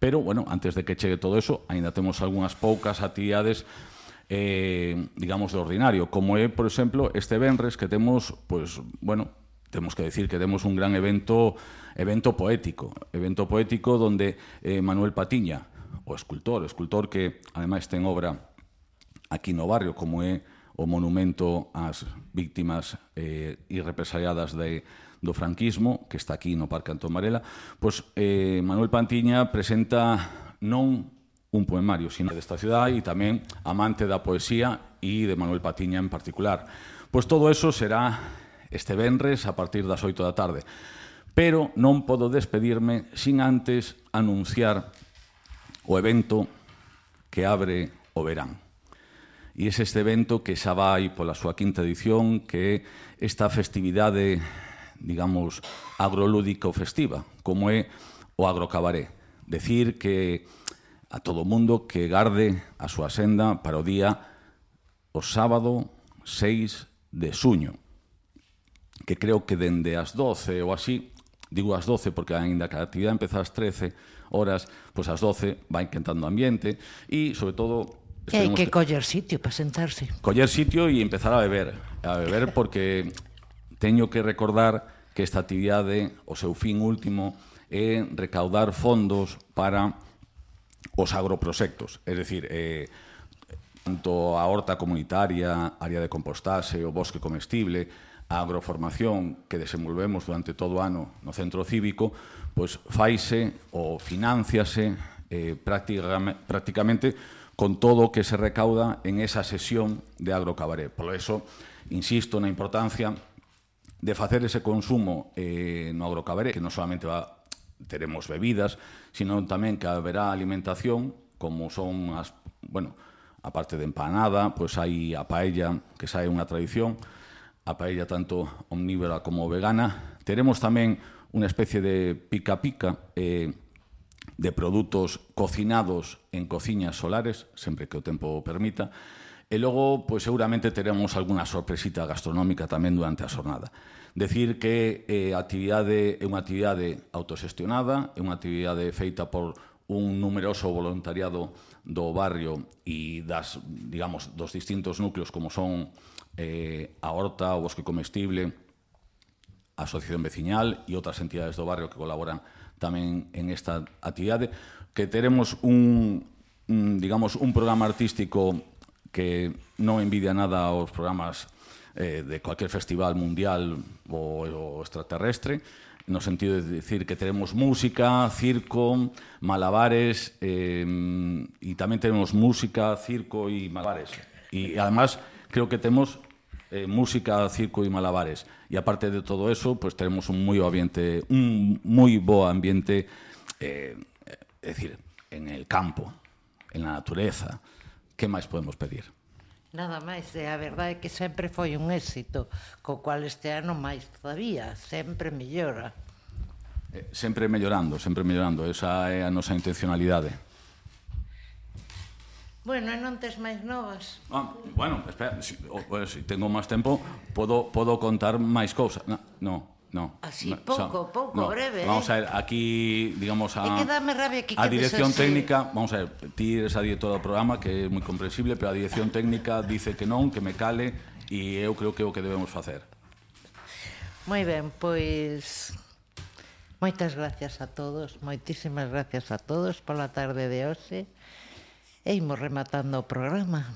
Pero, bueno, antes de que chegue todo eso, aínda temos algunhas poucas actividades digamos, de ordinario, como é, por exemplo, este venres que temos, pues, bueno, temos que decir que temos un gran evento poético donde Manuel Patiña, o escultor que ademais ten obra aquí no barrio, como é o monumento ás víctimas e represaliadas do franquismo, que está aquí no Parque Antón Varela, pois Manuel Patiña presenta non un poemario, sino desta cidade e tamén amante da poesía e de Manuel Patiña en particular. Pois todo eso será este venres a partir das 8 da tarde. Pero non podo despedirme sin antes anunciar o evento que abre o verán. E é este evento que xa vai pola súa quinta edición, que é esta festividade, digamos, agrolúdico festiva, como é o agrocabaré. Decir que a todo o mundo que garde a súa senda para o día o sábado 6 de xuño, que creo que dende as 12 ou así, digo as 12 porque aínda que a actividade empeza ás 13 horas, pois ás 12 vai quentando ambiente e, sobre todo, hai que coller sitio para sentarse. Coller sitio e empezar a beber porque teño que recordar que esta actividade, o seu fin último, é recaudar fondos para os agroproxectos, é dicir, tanto a horta comunitaria, área de compostaxe, o bosque comestible, a agroformación que desenvolvemos durante todo o ano no centro cívico, pois faise ou financiase prácticamente con todo o que se recauda en esa sesión de agrocabaré. Por eso, insisto na importancia de facer ese consumo no agrocabaré, que non solamente teremos bebidas, sino tamén que haberá alimentación, como son as, bueno, a parte de empanada, pois hai a paella, que xa é unha tradición, a paella tanto omnívora como vegana. Teremos tamén unha especie de pica-pica de produtos cocinados en cociñas solares, sempre que o tempo permita, e logo, pois, seguramente teremos algunha sorpresita gastronómica tamén durante a xornada. Decir que a actividade é unha actividade autoxestionada, é unha actividade feita por un numeroso voluntariado do barrio e dos distintos núcleos como son a Horta, o Bosque Comestible, a Asociación Veciñal e outras entidades do barrio que colaboran tamén en esta actividade, que teremos un programa artístico que non envidia nada aos programas de cualquier festival mundial ou extraterrestre, no sentido de decir que teremos música, circo, malabares, e tamén teremos música, circo e malabares. E, además, creo que temos música, circo e malabares. E, aparte de todo eso, pues teremos un moi bo ambiente, é dicir, en el campo, en la natureza. Que máis podemos pedir? Nada máis, a verdade é que sempre foi un éxito, co cual este ano máis todavía, sempre mellora. Sempre mellorando, esa é a nosa intencionalidade. Bueno, e non tes máis novas? Bueno, espera, se tengo máis tempo, podo contar máis cousas. No. Así, pouco, breve. Vamos a ver, aquí, digamos, É que dame rabia que a dirección técnica, vamos a ver, ti eres a directora do programa, que é moi comprensible, pero a dirección técnica dice que non, que me cale, e eu creo que é o que debemos facer. Moi ben, pois moitas gracias a todos, moitísimas gracias a todos pola tarde de hoxe, e imos rematando o programa.